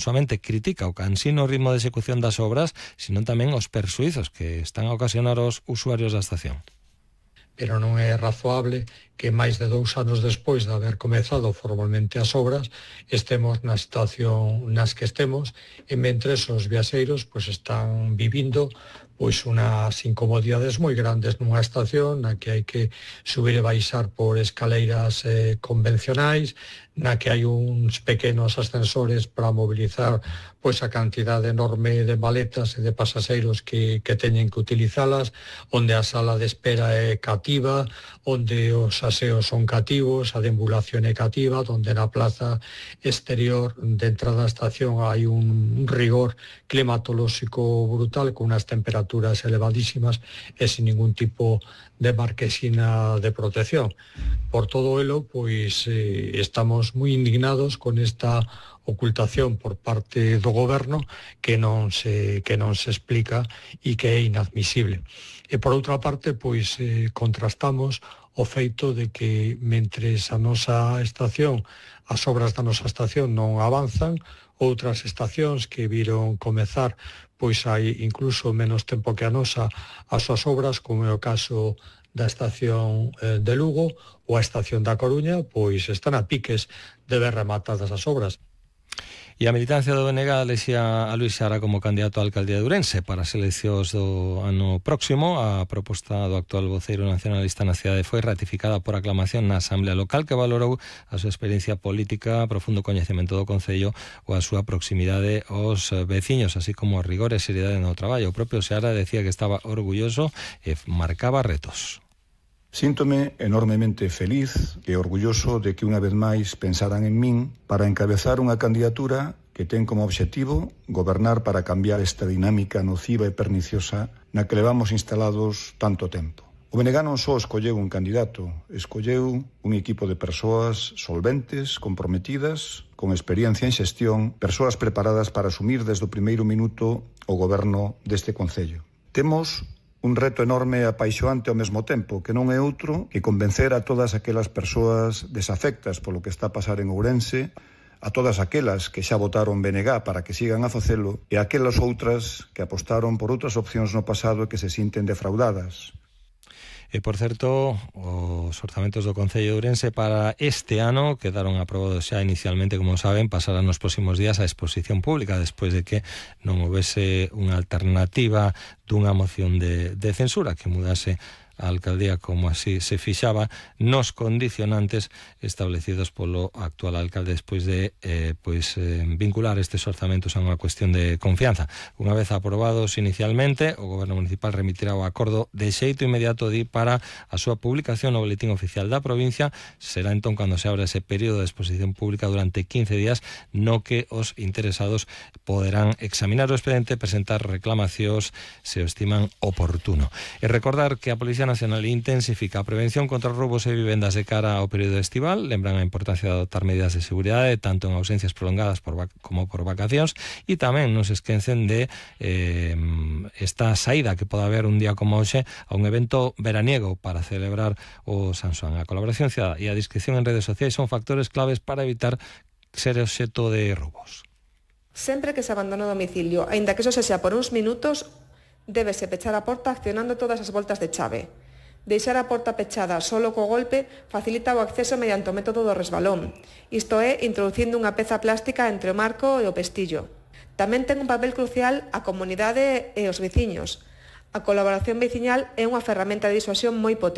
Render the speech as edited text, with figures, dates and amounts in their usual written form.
somente critica o cansino ritmo de execución das obras, sino tamén os persuizos que están a ocasionar aos usuarios da estación. Pero non é razoable que máis de 2 anos despois de haber comezado formalmente as obras estemos na situación nas que estemos e mentres os viaxeiros están vivindo unhas incomodidades moi grandes nunha estación na que hai que subir e baixar por escaleiras convencionais, na que hai uns pequenos ascensores para mobilizar a cantidade enorme de maletas e de pasaxeiros que teñen que utilizalas, onde a sala de espera é cativa, onde os aseos son cativos, a deambulación é cativa, onde na plaza exterior de entrada á estación hai un rigor climatolóxico brutal con unas temperaturas elevadísimas e sin ningún tipo de marquesina de protección. Por todo elo, estamos moi indignados con esta ocultación por parte do goberno que non se explica e que é inadmisible. E por outra parte, contrastamos o feito de que mentres a nosa estación, as obras da nosa estación non avanzan, outras estacións que viron comezar hai incluso menos tempo que a nosa as súas obras, como é o caso da estación de Lugo ou a estación da Coruña, están a piques de ver rematadas as obras. E a militancia do BNG elexía a Luís Xara como candidato á alcaldía de Ourense para as eleccións do ano próximo. A proposta do actual voceiro nacionalista na cidade foi ratificada por aclamación na Asamblea Local, que valorou a súa experiencia política, profundo coñecemento do Concello ou a súa proximidade aos veciños, así como a rigor e seriedade no traballo. O propio Xara decía que estaba orgulloso e marcaba retos. Síntome enormemente feliz e orgulloso de que unha vez máis pensaran en min para encabezar unha candidatura que ten como obxectivo gobernar para cambiar esta dinámica nociva e perniciosa na que levamos instalados tanto tempo. O BNG non só escolleu un candidato, escolleu un equipo de persoas solventes, comprometidas, con experiencia en xestión, persoas preparadas para asumir desde o primeiro minuto o goberno deste Concello. Temos un reto enorme e apaixoante ao mesmo tempo, que non é outro que convencer a todas aquelas persoas desafectas polo que está a pasar en Ourense, a todas aquelas que xa votaron BNG para que sigan a facelo e a aquelas outras que apostaron por outras opcións no pasado e que se sinten defraudadas. E, por certo, os orzamentos do Concello de Ourense para este ano quedaron aprobados xa inicialmente, como saben, pasarán nos próximos días a exposición pública despois de que non houvese unha alternativa dunha moción de censura que mudase a alcaldía como así se fixaba nos condicionantes establecidos polo actual alcalde despois de vincular estes orzamentos a unha cuestión de confianza. Unha vez aprobados inicialmente, o Goberno Municipal remitirá o acordo de xeito inmediato para a súa publicación no Boletín Oficial da provincia. Será entón cando se abra ese período de exposición pública durante 15 días no que os interesados poderán examinar o expediente e presentar reclamacións se o estiman oportuno. E recordar que a Policía Nacional intensifica a prevención contra roubos e vivendas de cara ao período estival. Lembran a importancia de adoptar medidas de seguridade tanto en ausencias prolongadas como por vacacións, e tamén non se esquecen de esta saída que pode haber un día como hoxe a un evento veraniego para celebrar o San Xoán. A colaboración cidadá e a discreción en redes sociais son factores claves para evitar ser obxecto de roubos. Sempre que se abandona o domicilio, aínda que eso sexa por uns minutos, débese pechar a porta accionando todas as voltas de chave. Deixar a porta pechada solo co golpe facilita o acceso mediante o método do resbalón, isto é, introducindo unha peza plástica entre o marco e o pestillo. Tamén ten un papel crucial a comunidade e os veciños. A colaboración veciñal é unha ferramenta de disuasión moi potente.